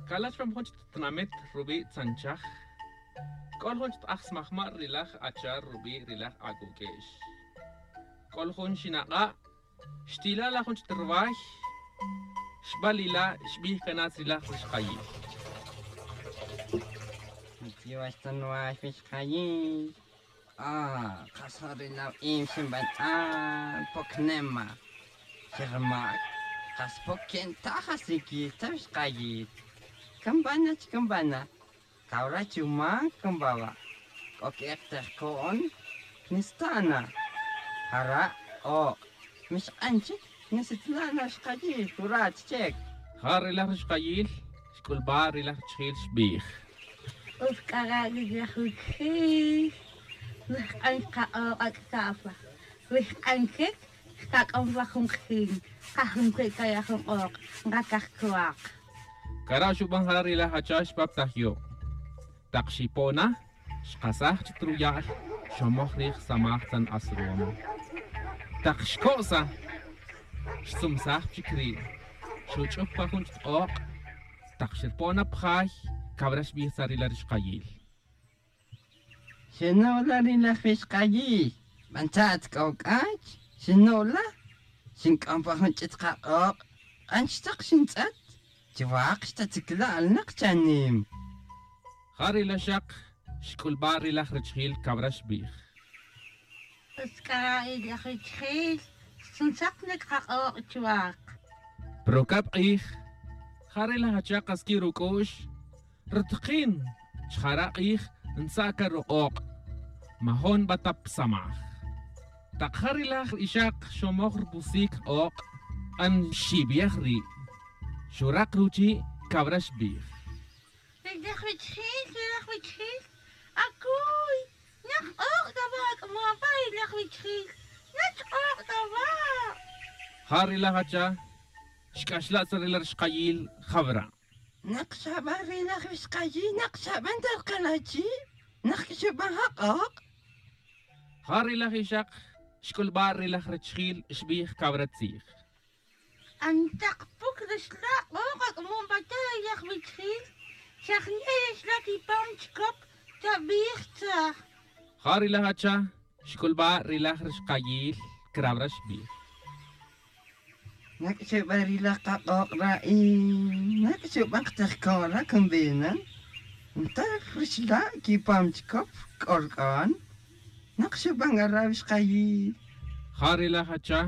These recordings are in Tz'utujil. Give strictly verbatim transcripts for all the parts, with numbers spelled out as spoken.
Cala' chupam jun chik tinamit rubi' tzanchaj, c'o jun chik t-ajsmajma' ri laj acha rubi' ri laj ac'uq'uex. C'o jun xinak'a', xtila' la jun chik ruway, xbalila', xbij can ri laj rixkayil. Chiwach ta nuway wixkayil. Ah, kas ja ri lawa'im xinb'an ch'an pok nema. Xermac, kas pok que'ntaj asiquil ta wixkayil. Can b'ana chi can b'ana. Cawra chumac can b'awa'. C'o que'ek tejco'n. Nistana. Jara' ok. Mixk'an chic nisitzlan awixkayil, curat chic. Ja ri laj rixkayil xc'ulba' ri laj richijil, xbij: Us c'a ra' ri laj wichijil, wihk'an caka'ok ac'ca'pa, wihk'an chic cakac'am pa jun kajin, kajun cui' caya jun k'ok, nkacaj cuak. Cara' xuban jara' ri laj acha xpap ta jyu'. Tak xipo' na, xkasaj chic ruya'l, xomoj rij samaj tzan asrumo. Tak xco'sa, xtzumsaj chic ri', xuch'up pa jun chic k'ok'. Tak xerpo' na pa jay, cawra xbij tzarila rixkayil: Xinu' la ri laj wixkayil, b'an cha' at c'o c'ach, xinu' la, xinc'am pa jun ch'it kak'ok', k'an xtak xintz'et, chuwak xtatzicla'l nak chanim. Ja ri laxak xc'ulba' ri laj richijil, cawra xbij: Us c'a ra' ri laj richijil, xtzunsak na cakak'ok' chuwak. Pero cab k'ij, ja ri laj acha kas qui' ruc'u'x, rutakin, chi jara' k'ij ntza' ca ruk'ok', majon nba ta pa samaj. Tak ja ri laj ixak xomoj rupusic k'ok', k'an xibej ri', xurak ruchi', cawra xbij: Ri laj wichijil, ri laj wichijil, acuy, nak k'ok' c'a wa' ac'amon pa ri laj wichijil, nach k'ok' c'a wa'. Ja ri laj acha xc'axla' tzarila rixkayil, jawra: Nak xaban ri laj wixkayil, nak xaban ta rkalachi', nak xaban ja k'ok'. Ja ri laj ixak xc'ulba' ri laj richijil, xbij cawra tzij: Antak puc rixla' k'ok' ac'amon pa ta ri laj wichijil, xajne' rixla' chipam chicop, chabij tzaj. Ja ri laj acha xc'ulba' ri laj rixkayil, crawra xbij: Nak xeban ri laj kak'ok' ra'i, nak xeban katejco'n ra, can b'enan. Ntaj rixla' quipam chicop c'o rc'on, nak xeban c'a ra wixkayil. Ja ri laj acha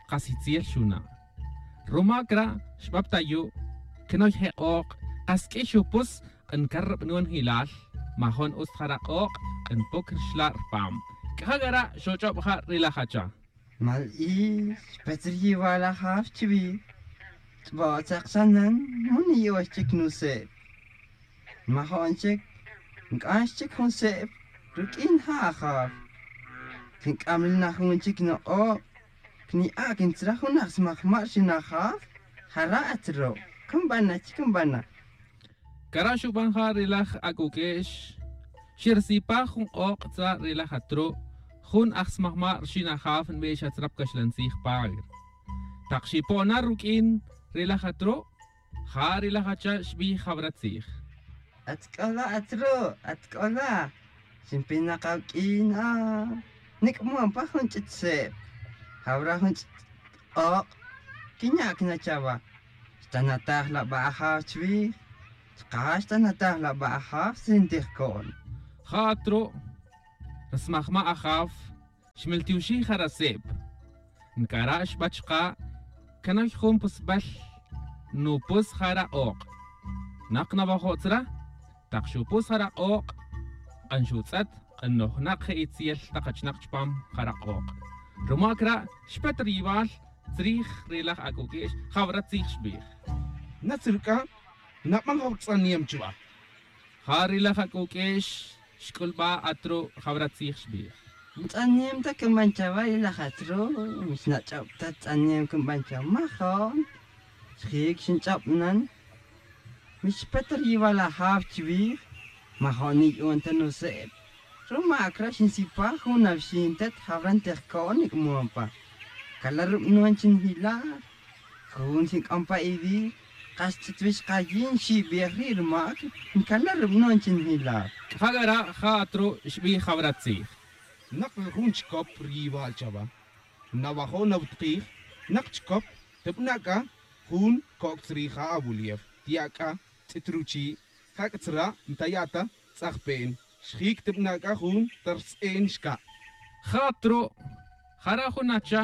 kas itzel xuna'. Rumac ra' xbap ta yu', canoy je k'ok', kas q'ui xupus, k'an car rubanonjilal, majon utz ta jara' k'ok', k'an puc rixla' rpam. C'a ja c'a ra' xoch'ob ja ri laj acha: Mal-il, xpet ri yiwal ajaw chiwij, ch'bo' tzak sanan, man niya'ox chic nuseb. Majon chic nc'an xchic jun seb ruq'uin ja ajaw. Quinc'am li na jun chic nuk'o', cniya' quintzra jun aj smajma' rxin ajaw, jara' at ru', can bana chic, can bana. Cara' xuban ja ri laj ac'uq'uex, xersipaj jun k'ok' tzra' ri laj atru', jun aj smajma' rxin ajaw nbix atzra pa caxlan tzij Pagre. Tak xipo' na ruq'uin ri laj atru', ja ri laj acha xbij jawra tzij: At c'o la atru', at c'o la, xinpinak awuq'uin, a, nic'mon pa jun ch'it seb, jawra jun ch'it k'ok' quinya' cana chawa. Xtanataj la ba ajaw chiwij, chuka' xtanataj la ba ajaw si ntijoco'n. Ja atru' ri smajma' ajaw xmeltioxij jara' seb, ncara' xba chuka': Canoy jun pusbal, nupus jara' k'ok'. Nak nawajo' tzra', tak xupus jara' k'ok', k'an xutz'et, k'an nojnak je itzel tak achinak chupam jara' k'ok'. Rumac ra' xpet ri yiwal tzrij ri laj ac'uq'uex, jawra tzij xbij: Natz ruc'a, naban jaw rutz'anem chuba. Ja ri laj ac'uq'uex xc'ulba atru', jawra tzij xbij: Ntz'anem ta can ban chawa ri laj atru', mixnach'ob ta tz'anem can ban chawa, majon. Xjic xinch'ob nan, mixpet ri yiwal ajaw chiwij, majon niyu'un ta nuseb. Rumac ra' xinsipaj jun awixin tet, jawra ntijoco'n nic'mon pa. Cala' rubanon chi nijilaj, jun xinc'am pa iwij, Kas tzitwix kayin xibij ri' rumac ncana' rubanon chi njilar. C'a ja c'a ra' ja atru' xbij jawra tzij. Nak ri jun chicop ri yiwal chawa, nawajo' nawutkij. Nak chicop, tebana' c'a jun coc' tzrija' awulief, tiya' c'a tz'it ruchi', ja c'a tzra' ntaya' ta tz'ajpen, xjic tebana' c'a jun ta rtz'in xca'. Ja atru' jara' jun acha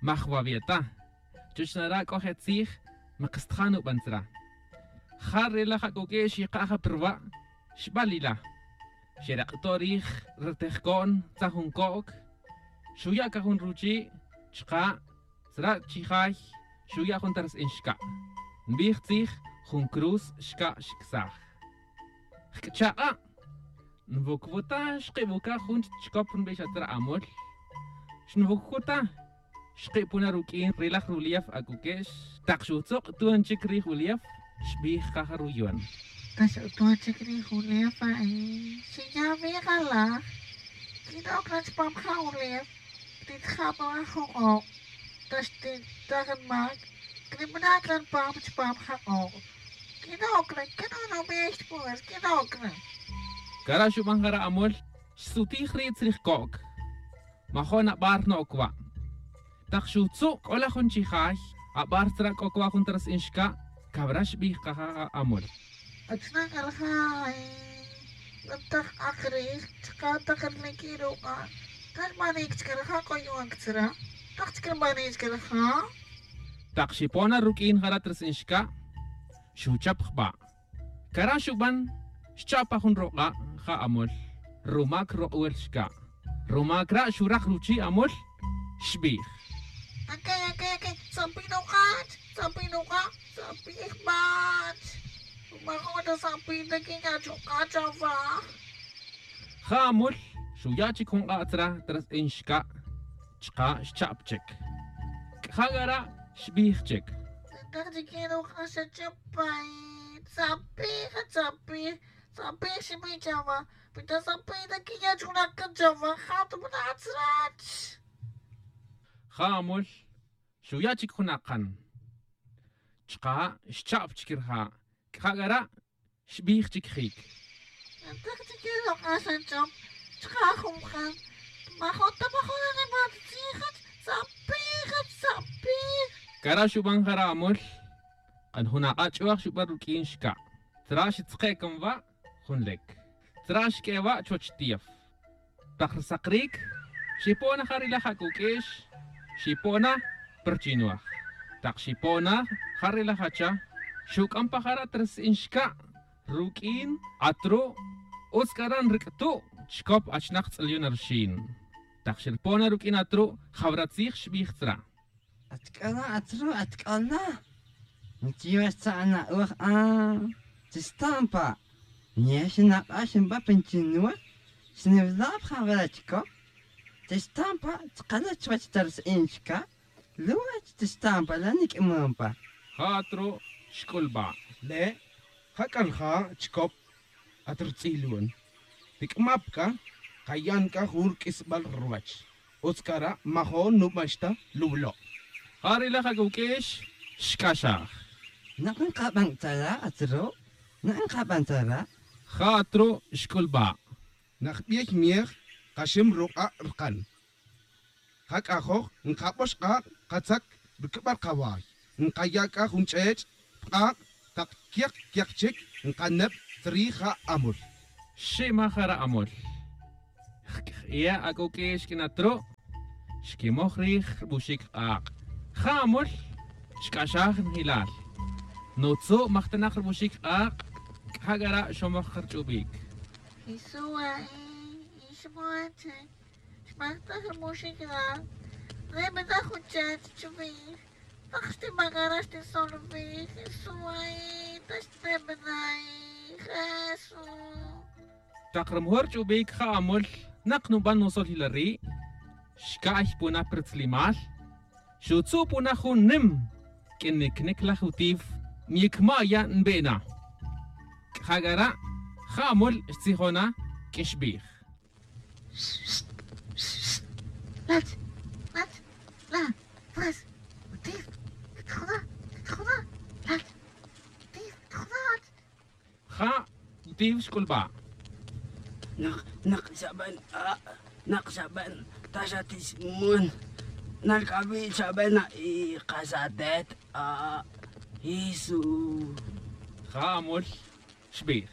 majwawi' ta. Chuch nara' c'o je' tzij makstajan nuban tzra'. Ja ri laj ac'uq'uix yika' ja pa ruwa' xbalila. Xerak'to' rij ri tejco'n tzan jun co'c. Xuya' c'a jun ruchi' chuka' tzra' chijay xuya' jun ta rtz'in xca'. Nbij tzij jun cruz xca' xcsaj. Jc'cha' k'a'. Nwucwuta xkibuca jun chicop nbix atzra' amul. Xnwucwuta. Xkipona ruq'uin ri laj rulief ac'uq'uix. Tak xutzuk' tu'n chic rij ulief xbij kaja ruyon. Ta xutu'n chic rij ulief a'i xinya' wi' jalaj. Quin-oc na chupam ja ulief. Titjam na jun k'ok'. Ta xtintaj nmac. Cribana' c'a npam chupam ja k'ok'. Quin-oc na quin-oc na wi' xtpon. Quin-oc na. Cara' xuban jara' amul. Xsutij ri' tzrij co'c. Majo'n abar no'oc wa'. Tak xutzu' c'o laj jun chijay. Abar tzra' c'o cua' jun ta rtz'in xca'. Cawra xbij kaja amul. Achna' c'a rija' y. Ntak k'ak rij chka' tak riliq'uin ruk'a'. Tal banic chca rija' c'o yu'an ctzra'. Tak chca rbanic chca rija'. Tak xipon na ruq'uin jara' ta rtz'in xca'. Xuchap jba'. Cara' xuban xcha' pa jun ruk'a' ja amul. Rumac ruk'wel xca'. Rumac ra' xuraj ruchi' amul. Xbij. Aque aque aque tzapij nuk'ach tzapij nuk'a' tzapij bach. Rumac jun ta tzapij ta quin ya' chuk'a' chawa. Ja amul xuya' chic jun k'a' tzra' ta rtz'in xca'. Chka' xcha'p chic. C'a ja c'a ra' xbij chic. Ntak chique ruk'a' xachapay. Tzapij tzapij tzapij xibij chawa. Pi ta tzapij ta quin ya' chuk'a' chawa ja ta bana' tzrach. Ja amul xuya' chic jun akan. Chka' xcha'p chic rija'. C'a ja c'a ra' xbij chic jic. Ntak chique ruk'a' xachap. Chka' jun kan. Majo'n ta majo'n animal tzij. Tzapij tzapij. Cara' xuban jara' amul. Kan jun ak'a' ch'uaj xuban ruq'uin xca'. Tzra' xtzke' can wa'. Jun lec. Tzra' xq'ue wa' chuwech tief. Tak rsacric. Xipon na ja ri laj ac'uq'uix. Xipon na. Pa ruchinuaj. Tak xipon na ja ri laj acha. Xuc'am pa jara' ta rtz'in xca'. Ruq'uin atru'. Utz c'a ra' nric'tu' chicop achnak tz'alyon na ruxin. Tak xripon na ruq'uin atru' jawra tzij xbij tzra'. Atc'ala' atru' atc'ala'. Nchiwe xtza'n na'oj a. Chixta'n pa'. Niye xinak'ax nba pa nchinwe. Xniwila' pa jawara' chicop. Chixta'n pa' chkala' chuwech ta rtz'in xca'. Luwech chixta'n pa' la niq'uimon pa. Ja atru' xc'ulba'. Le' ja c'a rija' chicop. At rutz'ilon. Tic'ma pa c'a. Kayan c'a jun ruq'uisbal ruwech. Utz c'a ra' majo'n nubax ta luwlo'. Ja ri laj ac'uq'uix xc'axaj. Nak nkaban tzara' atru'. Nak nkaban tzara'. Ja atru' xc'ulba'. Nak biey miej kaxim ruk'a' rkan. Ja c'ajoj nkabox k'ak' katzac rucubal kaway. Nkaya' c'a jun ch'ech' pa k'ak' tak quek quek chic nkaneb tzrij ja amul. Ximaj jara' amul. Jc'ie' ac'uq'uix q'uin atru'. Xquimoj rij rubuxic k'ak'. Ja amul. Xc'axaj njilal. Nutzu' majtanak rubuxic k'ak'. C'a ja c'a ra' xomoj ka rch'ubic. Jesús a'i. Xmajtaj rubuxic k'ak'. Re' bana' jun chech chuwij. Tak xtimac ara' xtisolwij. Jesús a'i. Ta xtebana' a'i. Jesús. Tak ri mejor ch'ubic ja amul. Nak nuban nusol jila ri'. Xca'y puna pa rutzlimal. Xutzu' puna jun nim. Q'uin nicnic laj utif. Nyicma' ya' nbe'na. C'a ja c'a ra' ja amul xtzijon na. Q'uin xbij. Lach. Lach. La. Pues. Utif. Titjuna. Titjuna. Lach. Tif xc'ulba'. Nak, nak xaben, ah, nak xaben, ta xatismon. Nalc'abi' xaben, ah, y kas atet, ah, Jesús. Ja amol xbij.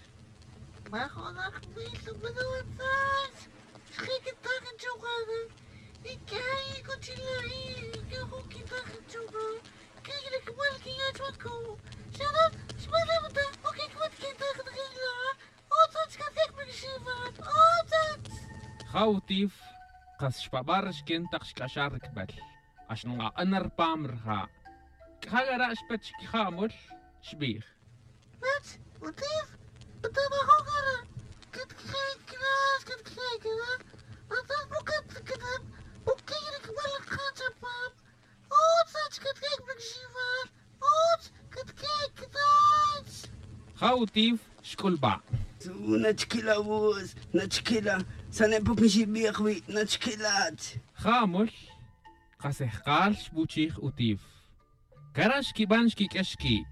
Majonak bil, pero atzach. Xjiquitak chuka'. Y que ay, cochila, y que joquitak chuka'. Kik'rikbal kiya' chuwat ko. Xana' xb'an reb'ta o kik'wat kitaj rila'. Otzach katkik b'ik xiwat, otzach. Ja utif kas xpab'a' rixken taq xk'axaj rikb'el. Ax nq'aq'an rpam rja'. K'ja' k'ara' xpet chik ja amol, xb'ij. Nach utif, b'ita majo' k'ara'. Katkje' kras, katkje' kras. Atzan pukat k'atab' o kik'rikb'al rja' chapam. Otzach katkik b'ik xiwat, otz katkik, otz. Ja utif xk'ulb'a'. Nachkila' wutz, nachkila', sane' puk nxibij wi', nachkila'. Ja amol, qas ejqal xbuchij utif. Kara' xkib'an xkik'ex ki'.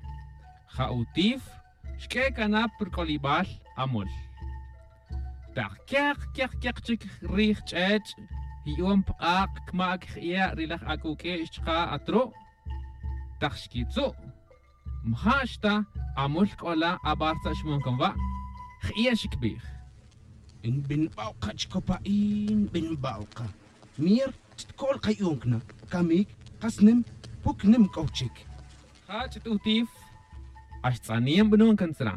Ja utif xk'e' kanap rk'olib'al amol. Taq keq keq keq chik rij ch'ech', yi'on pq'aq', kma' kj'iya' ri laj ak'uk'e' xchqa' atru'. Taq xkitzu', mja' xta amol k'ola ab'ar tza' xmon kan wa', j'iya' xikb'ij. Nb'inb'aw qa chkopa'i, nb'inb'aw qa. Mier, ch'tkol qa yu'on kna', kamik, qas nim, puk nim k'ow chik. Ja ch'ut utif, ax tz'aniem b'non kan tzra.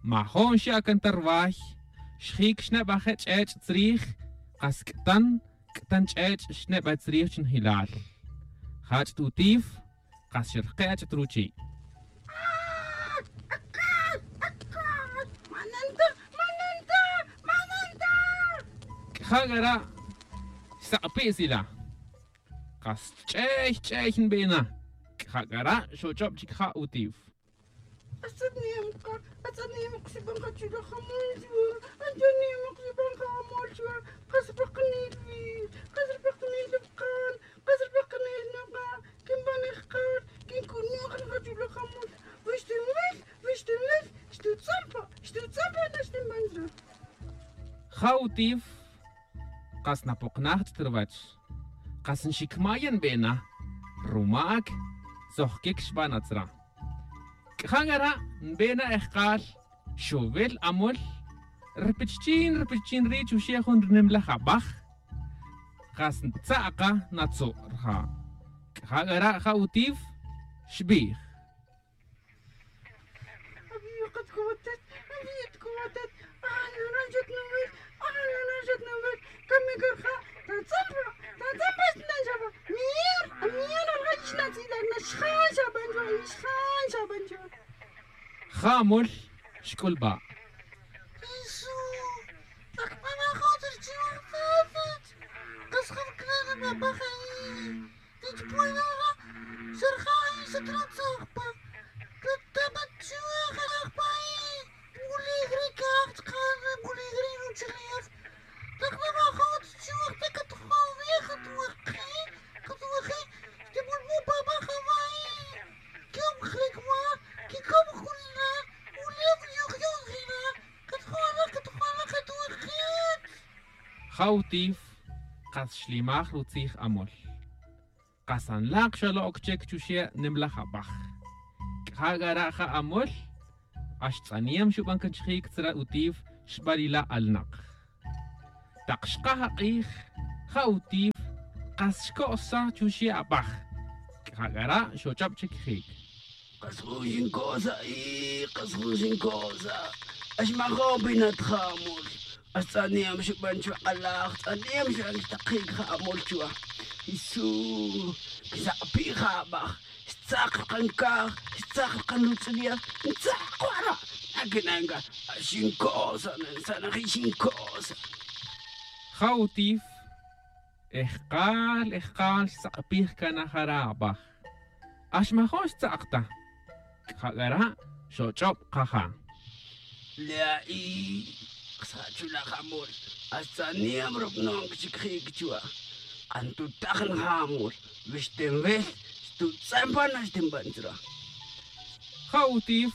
Majo'n xya' kan ta rway, xjik xneb'aje' ch'ech' tzrij, qas k'tan, k'tan ch'ech' xneb'a' tzrij chnjilal. Ja ch'ut utif, qas xerqe' ach'ut ruchi'. K'ja' k'ara' xsaq'pi' sila. Qas ch'ey ch'ey nb'ena. K'ja' k'ara' xoch'ob' chik ja utif. Atz'anem qa, atz'anem qa xib'an qa chula' jamol chwa, atz'anem qa xib'an qa jamol chwa, qas rpaqanel wi, qas rpaqanel rpaqan, qas rpaqanel naqa', kinb'an ejqal, kink'unuj naqa' chula' jamol, wi xtinwil, wi xtinwil, xtutz'an pa, xtutz'an pa, na xtinb'an chwa. Ja utif, qas napoqnaj ch'ut rwach. Qas nxikmaya' nb'ena, rumak, tzojkik xb'an atzra. K'ja' k'ara' nb'ena ejqal, xowil amol, rpichchin, rpichchin ri' chuxe' jun ri nimlaj ab'aj. Qas ntza' qa natzu' rja'. K'ja' k'ara' ja utif, xb'ij. Ja amol xk'ulb'a'. Ja utif, qas xlimaj rutzij amol. Qas anlaq xalo'oc chic chuxe' nimlaj abaj. C'a ja c'a ra' ja amol, ax tz'aniem xub'an can chijïc tzra' utif xbalila' alnaq. Tak xkaj ak'ij, ja utif, qas xco'saj chuxe' abaj. C'a ja c'a ra' xoch'ob chic jïc. Qas jun xinco'saj, qas jun xinco'saj. Ax majo'n pinat ja amol. Ax tz'aniem xub'an chuwa' alaj, tz'aniem xub'an chuwa' takjïc ja amol chuwa'. Jesús, quisak'pi' ja abaj. Xtzak rkan caj, xtzak rkan rutz'ilej, ntzak wara'. Naquina'n can, ax xinco'saj, nantzanaji xinco'saj. Ja utif, ejkal, ejkal xsak'pij can na jara' abaj. Ax majo'n xtzak ta. C'a ja c'a ra' xoch'ob kaja'. Lea'i, ksa' chula' ja amol, ax tz'aniem rub'non chic jïc chuwa'. Antutaj na ja amol, wi xtinwil, xtutz'en pan na xtinb'an tzra'. Ja utif,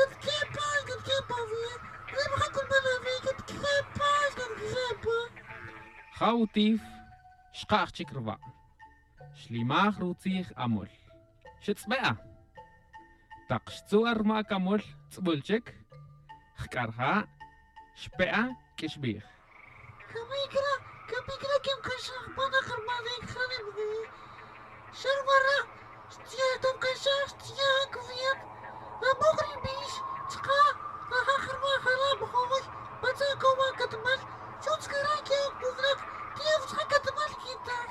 Catquepa, catquepa, wi. Re' maja' cunman awi, catquepa, catquepa. Ja utif xkaj chic rwa'. Xlimaj rutzij amul. Xtz'be' a. Tak xtzu' a rmac amul tz'ubul chic, jc'a rja' xpe' a q'uixbij. Camic ra, camic ra quimcaxaj pa nak rmac re' cjanic wi. Xa rwara' xtz'iyaj ta nkaxaj xtz'iyaj cwiet. Amuk ri bix chka' najak rmac jala' majoy. Patza' cowa catmal. Xutz cara' que oc pucnak tiempo chka' catmal quintaj.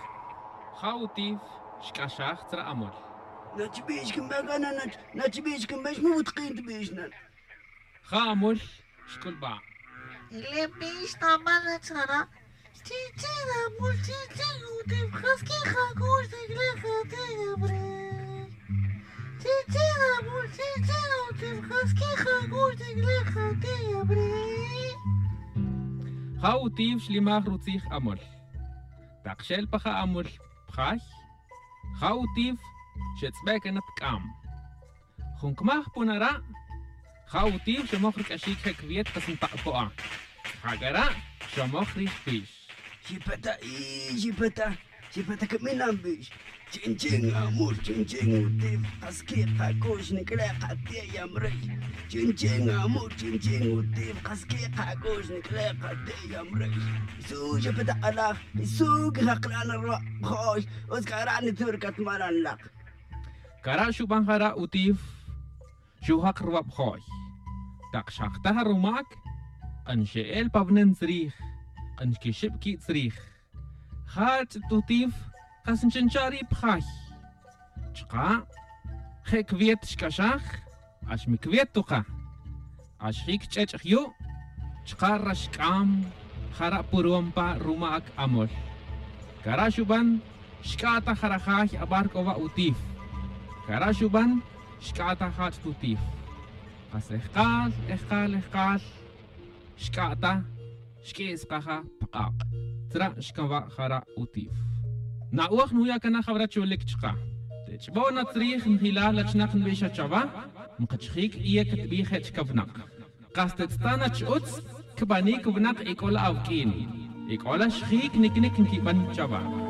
Ja utif xc'axaj tzra' amul. Nachbix quimbe cana nachbix quimbe xmubutkin tbix nan. Ja amul xc'ulba'. Ile' pix tamal achkara'. Chichi' namul chichi' utip qas kija' k'ux nik'lej ati' yamrey. Chichi' namul chichi' utip qas kija' k'ux nik'lej ati' yamrey. Ja utip xlimaj rutzij amol. Tak xel pa ja amol pjay, ja utip xetz'be' cana pk'am. Jun cmaj pun ara', ja utip xomoj rc'axic je cwiet kas ntak'o'a. Ja c'a ra' xomoj rij pix. Xipeta' i xipeta', xipeta' caminam pix. Chinchin amul chinchin utip, kas quikacux nic'lek ati' yamrey. Chinchin amul chinchin utip, kas quikacux nic'lek ati' yamrey. Jesús xipeta' k'alaj, Jesús quijak k'lan ruwa' jo'y. Utz c'a ra' nitur catmalan lak. Cara' xuban jara' utip. Xujak ruwab jo'y. Tak xjaktaj rumac, k'an xe'el pa vnen tzrij, k'an xquixib qui' tzrij. Jach' tutip, kas nch'incha' ri' pjay. Chuka' je' cwiet xc'axaj. Ax mi cwiet tuka'. Ax jic ch'ech' jyu'. Chuka' rax c'am. Jara' purom pa rumac amol. Cara' xuban xc'a' ta jara' jay abar c'o wa' utip. Cara' xuban xc'a' ta jach' tutip. Kas ejkal ejkal ejkal xc'a' ta. Xq'uis kaja pa k'ak'. Tzra' xcawa' jara' utip. Na'oj nuya' cana jawra cholic chuka'. Tech'bo' na tzrij njilal achnak nbixa chawa'. Nkachjic iye catbi je' chica wnak. Kas tetz'ta' na ch-utz cbanic wnak ec'ola awq'uin. Ec'ola xjic nicnic nquiban chawa'.